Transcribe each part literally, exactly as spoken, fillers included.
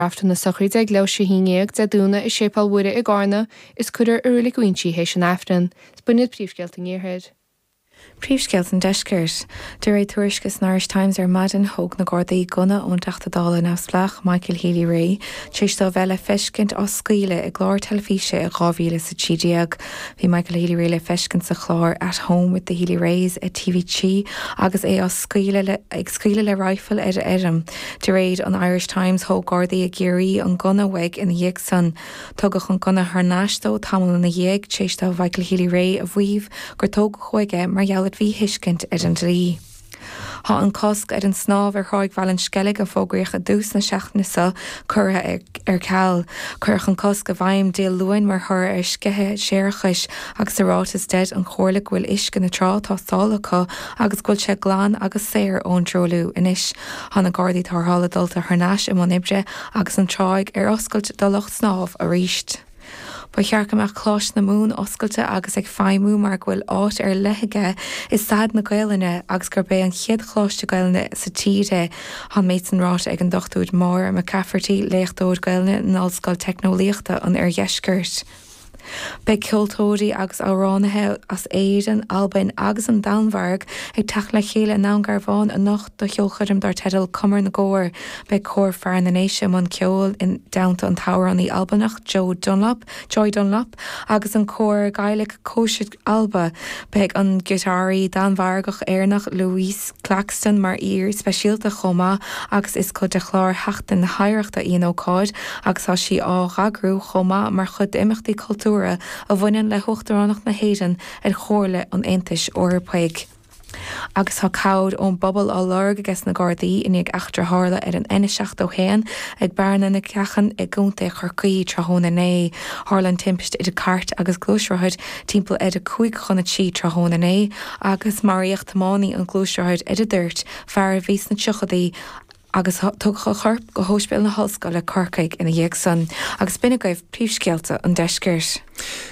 Aifreann na sochraide ag leathuair tar éis a haon déag Dé Domhnaigh i Séipéal Mhuire i gCarna is cuirfear i Reilig Uínsí théis an Aifrinn. Is b'in iad príomhscéalta an Iarthair. Príomhscéalta an Deiscirt. De réir tuairisce san Irish Times ar maidin, thóg na Gardaí gunna ón dTeachta Dála neamhspleách Michael Healy-Rae tar éis dó a bheith le feiscint á scaoileadh i gclár teilifíse i dhá mhíle is a trí déag. Bhí Michael Healy-Rae le feiscint sa chlár At Home with the Healy-Raes ar T V trí agus é á scaoileadh le ag scaoileadh le raidhfil ar a fheirm. De réir an Irish Times, thóg Gardaí i gCiarraí an gunna uaidh ina dhiaidh san. Tugadh an gunna thar n-ais dó tamall ina dhiaidh, tar éis do Mhichael Healy-Rae a mhaíomh gur tógadh uaidh é mar gheall ar mhíthuiscint ar an dlí. Tá an cosc ar an snámh ar Thráigh Bhaile an Sceilg a fógraíodh i dtús na seachtaine seo curtha ar ceal. Cuireadh an cosc i bhfeidhm Dé Luain mar thoradh ar sceitheadh séarachais agus sa ráiteas deir an Chomhairle go bhfuil uisce na trá tástáilte acu agus go bhfuil sé glan agus saor ón truailliú anois. Tá na Gardaí Tarrthála dulta thar n-ais i mbun oibre agus an tráigh ar oscailt do lucht snámh arís. Ba cheart go mbeadh Coláiste na Mumhan oscailte agus ag feidhmiú mar go bhfuil áit ar leith aige i staid na Gaelainne agus gurb é an chéad choláiste Gaelainne sa tír é. Tá an méid san ráite ag an Dochtúir Máire McCafferty, léachtóir Gaelainne in Ollscoil Teicneolaíochta an Oirdheiscirt. Beidh ceoltóirí agus amhránaithe as Éirinn, Albain agus an Danmhairg ag teacht le chéile i nDún Garbhán anocht do cheolchoirm dar teideal Cumar na gCór. Beidh Cór Fear na nDéise i mbun ceoil i dteannta an t-amhránaí Albanach Joe Dunlop, Joy Dunlop agus an cór Gaelic Còisead Alba. Beidh an giotáraí Danmhargach-Éireannach Louise Claxton mar aoi speisialta chomh maith agus is cuid de chlár Sheachtain na hOidhreachta í an ócáid agus tá sí á heagrú chomh maith mar chuid d'imeachtaí cultúrtha a bhaineann le hUachtaránacht na hÉireann ar Chomhairle an Aontais Eorpaigh. Agus tá cabhair ón bpobal á lorg aige na Gardaí i ndiaidh eachtra a tharla ar an N seachtó a haon ag Bearna na Ceachan i gContae Chorcaí tráthnóna inné. Tharla an timpiste idir cairt agus gluaisrothar timpeall ar a cúig chun a trí tráthnóna inné agus maraíodh tiománaí an ghluaisrothair ar an dtoirt, fear a bhí sna tríochaidí, agus tugadh a chorp go hOspidéal na hOllscoile Corcaigh ina dhiaidh san. Agus b'in agaibh príomhscéalta an deiscirt.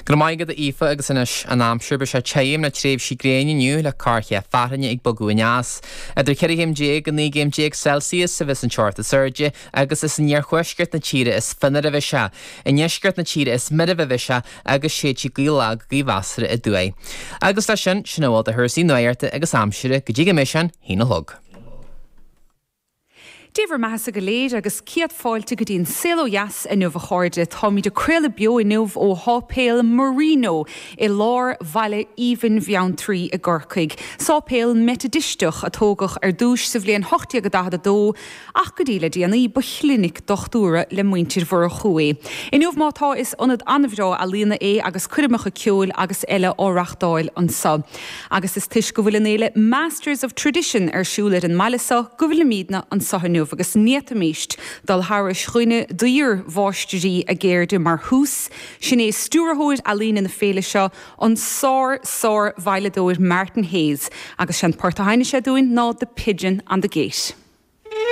Go raibh maith agat a Aoife agus anois an aimsir beidh sé tirim le tréimhsí gréine inniu le corrchéim fearthainne ag bogadh aneas. Idir ceithre chéim déag go naoi gcéim déag Celsius a bheas an teocht is airde agus is in iarthuaisceart na tíre is fionnuaire a bheidh sé. I ndeisceart na tíre is meirbhe a bheidh sé agus séidfidh gaoth lag go gaoth mheasartha aduaidh. Agus leis sin, sin a bhfuil de chúrsaí nuachta agus aimsire go dtí go mbeidh sé an haon a chlog. Dé bhur mbeathasa go léir agus céad fáilte go dtí an Saol Ó Dheas inniu a chairde. Táimid ag craoladh beo inniu ó Sháipéal Marino i lár bhaile aoibhinn Bheanntraí i gCorcaigh. Sáipéal Meitidisteach a tógadh ar dtús sa bhliain ocht déag daichead a dó ach go dtí le déanaí ba chlinic dochtúra le muintir Mhurchú é. Inniu má tá is ionad an-bhreá ealaíona é agus coirmeacha ceoil agus eile á reachtáil anseo. Agus is toisc go bhfuil an fhéile Masters of Tradition ar siúl ar an mbaile seo go bhfuilimidne anseo inniu agus ní fhéadfaimis dul thairis dhuine d'fhíor-mháistrí a gceirde mar thús. Sin é stiúrthóir ealaíne na féile seo, an sár-sár-veidhleadóir Martin Hayes, agus sé'n port a sheinnfidh sé dúinn ná The Pigeon on the Gate.